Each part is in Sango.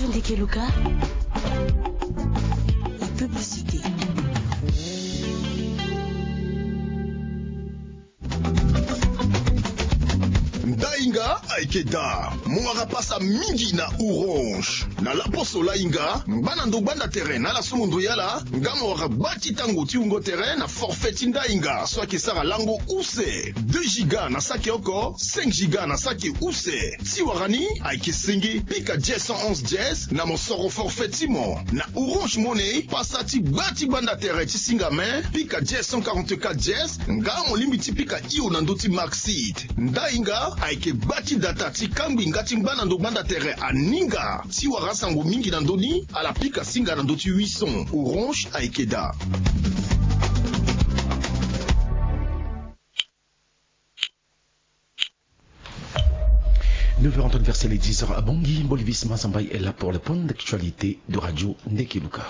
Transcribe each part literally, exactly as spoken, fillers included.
Ndeke Luka, la publicité. Ndainga ayeke daa. Mo wara pasa mingi na Orange. Na laposo lainga, ngba na ndo gbanda tere na ala so mo ndo yala, nga mo wara gba ti tango ti wungo tere na forfait ti ndainga so ayeke sara lango use. Deux giga na saki oko, cinq giga na saki use. Ti wara ni ayeke senge, pika dièse cent onze dièse na mo soro forfait ti mo. Na Orange Money, pasa ti gba ti gbanda tere ti singa me, pika dièse cent quarante-quatre dièse, nga mo lingbi ti pika hio na ndö ti Maxit. Ndainga ayeke gba ti data ti kangbi nga ti ngba na ndo gbanda tere aninga. Ti wara asango mingi na ndö ni, ala pika singa na ndö ti huit cents. Orange ayeke daa. Neuf heures en temps universel et dix heures à Bangui. Bolivis Mazambaï est là pour le point d'actualité de Radio Ndeke Luka.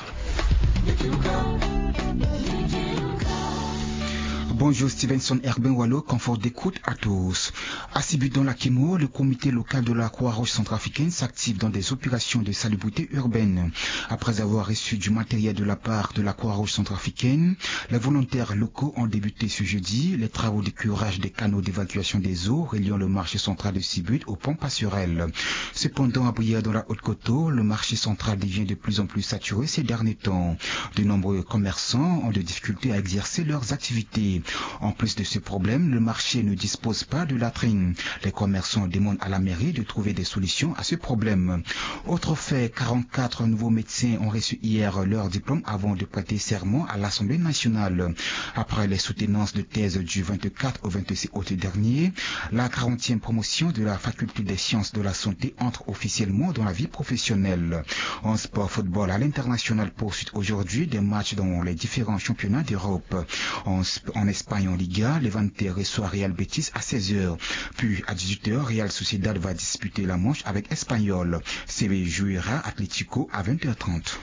Bonjour Stevenson Herbin Walo, confort d'écoute à tous. À Sibut dans la Kemo, le comité local de la Croix-Rouge centrafricaine s'active dans des opérations de salubrité urbaine. Après avoir reçu du matériel de la part de la Croix-Rouge centrafricaine, les volontaires locaux ont débuté ce jeudi les travaux de curage des canaux d'évacuation des eaux reliant le marché central de Sibut au pont Passerelle. Cependant, à Brière, dans la Haute-Koto, le marché central devient de plus en plus saturé ces derniers temps. De nombreux commerçants ont de difficultés à exercer leurs activités. En plus de ce problème, le marché ne dispose pas de latrine. Les commerçants demandent à la mairie de trouver des solutions à ce problème. Autre fait, quarante-quatre nouveaux médecins ont reçu hier leur diplôme avant de prêter serment à l'Assemblée nationale. Après les soutenances de thèse du vingt-quatre au vingt-six août dernier, la quarantième promotion de la faculté des sciences de la santé entre officiellement dans la vie professionnelle. En sport football à l'international, poursuite aujourd'hui des matchs dans les différents championnats d'Europe. En, Sp- en Espagne, en Liga, Levante reçoit Real Betis à seize heures. Puis à dix-huit heures, Real Sociedad va disputer la manche avec Espanyol. Sevilla jouera Atlético à vingt heures trente.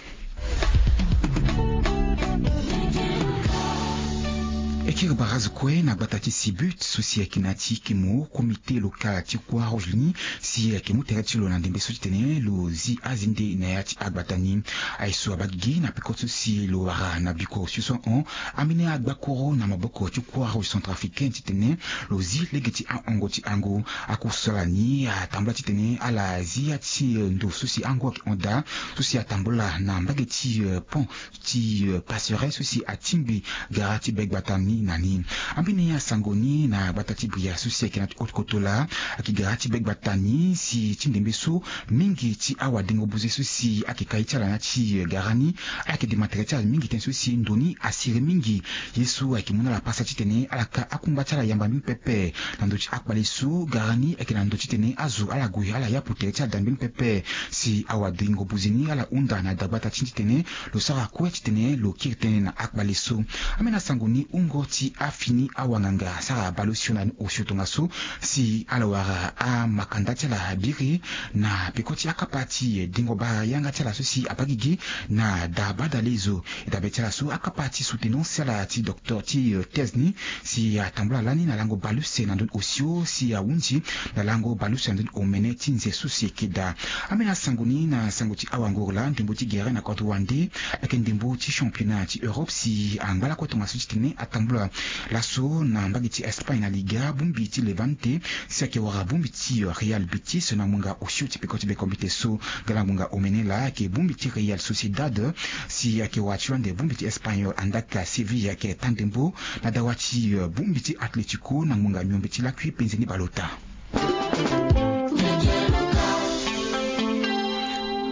E kiri barazo kue na gbata ti Sibut so si ayeke na ya ti kemo komite local ti Croix Rouge ni si ayeke mu tere ti lo na ndembe so ti tene lo zi azende na ya ti agbata ni. Aye so abaa gigi na peko so si lo wara na biko osio so ahon ambeni agbakuru na maboko ti Croix Rouge centrafricaine ti tene lo zi lege ti ahongo ti angu. Akusala ni atambula ti tene ala zi ya ti ndo so si angu ayeke hon daa so si atambula na mbage ti pont ti passerelle so si atingbi gara ti be gbata ni na ni. Ambeni asango ni na gbata ti Brière so si ayeke na ti haute koto laa ayeke gara ti be gbata ni si ti ndembe so mingi ti awadengo buze so si ayeke kai ti ala na ya ti gara ni ayeke dema tere ti ala mingi tënë so si ndo ni asiri mingi. Ye so ayeke mu na ala pasa titene ala ka akungba ti ala yamba mingi pepe na ndö ti akpale so gara ni ayeke na ndö titene azo ala gue ala yapu tere ti ala da mbeni pepe. Si awadengo buze ni ala hunda na dagbata ti titene lo sara kue titene lo kiri tënë na akpale so. Ambeni asango ni hungo ti afini awanganga asara baleosio na ni osio tongaso si ala wara amakanda ti ala biri na peko ti akapa ti dengo bara yanga ti ala so si abaa gigi na da badale zo. E dabe ti ala so akapa ti soutenance ti ala ti docteur ti thèse ni si atambula lani na lango baleuse na ndö ni osio si ahunzi na lango baleuse na ndö ni omene ti nze so si eke daa. Ambeni asango ni na sango ti awanguru laa ndembo ti gere na kodro wande ayeke ndembo ti championnat ti Europe si angba lakue tongaso titene atambula laso na mbage ti Espagne na Liga bongbi ti Levante si ayeke wara bongbi ti Real Betis na ngbonga osio ti peko ti be kombite so. Nga na ngbonga omene laa ayeke bongbi ti Real Sociedad si ayeke wara ti lo ande bongbi ti Espanyol andaa Sevilla ayeke taa ndembo na dawa ti bongbi ti Atletico na ngbonga miombe ti lakui penze ni baleota.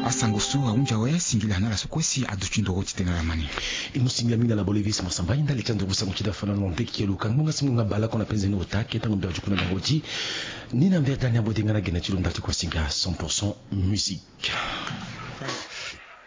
Asango so ahunzi awe singila na ala so kue si aduti ndoro titene ala ma ni. E mu singila mingi na Bolivis Masamba, e ndali ti anduru sango ti da fana na ndeke luka ngbonga si ngbonga baleoko na penze ni ota ake ntango mbi ajuku na bango ti ni na mvere dani abo denga na gene ti lo ndali ti kua singa cent pour cent musique.